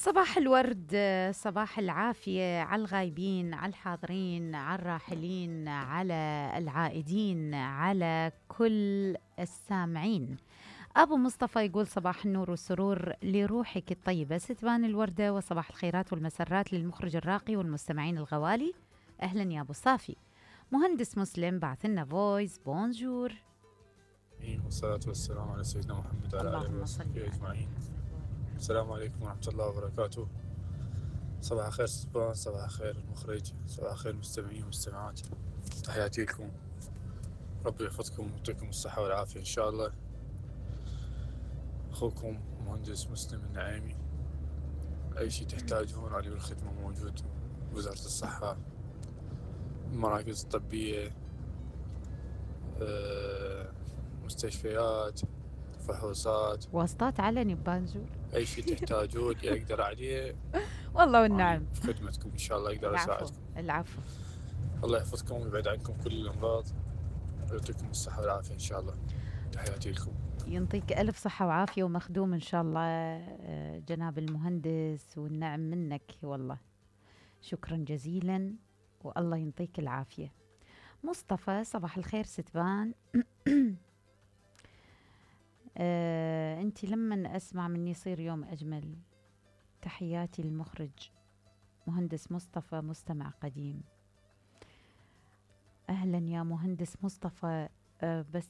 صباح الورد، صباح العافية على الغايبين، على الحاضرين، على الراحلين، على العائدين، على كل السامعين. أبو مصطفى يقول صباح النور والسرور لروحك الطيبة ستبان الوردة، وصباح الخيرات والمسرات للمخرج الراقي والمستمعين الغوالي. أهلا يا أبو صافي. مهندس مسلم بعث لنا فويس بونجور. والصلاة والسلام على سيدنا محمد وعلى آله اللهم صل وصحبه على أجمعين. السلام عليكم ورحمة الله وبركاته. صباح الخير سبان، صباح الخير المخرج، صباح الخير المستمعين والمستمعات. تحياتي لكم، ربي يحفظكم ويعطيكم الصحة والعافية إن شاء الله. أخوكم مهندس مسلم النعيمي. أي شيء تحتاجون علي بالخدمة موجود. وزارة الصحة، المراكز الطبية، مستشفيات، فحوصات، واسطات علني ببانجور. أي شيء تحتاجون أقدر عليه. والله أنا والنعم. في خدمتكم إن شاء الله أقدر العفو أساعدكم. العفو. الله يحفظكم ويبعد عنكم كل الأمراض ويعطيكم الصحة والعافية إن شاء الله. تحياتي لكم. ينطيك ألف صحة وعافية ومخدوم إن شاء الله جناب المهندس، والنعم منك والله. شكرا جزيلا والله ينطيك العافية. مصطفى صباح الخير ستبان. أنت لما أسمع مني يصير يوم أجمل. تحياتي للمخرج مهندس مصطفى مستمع قديم. أهلا يا مهندس مصطفى. بس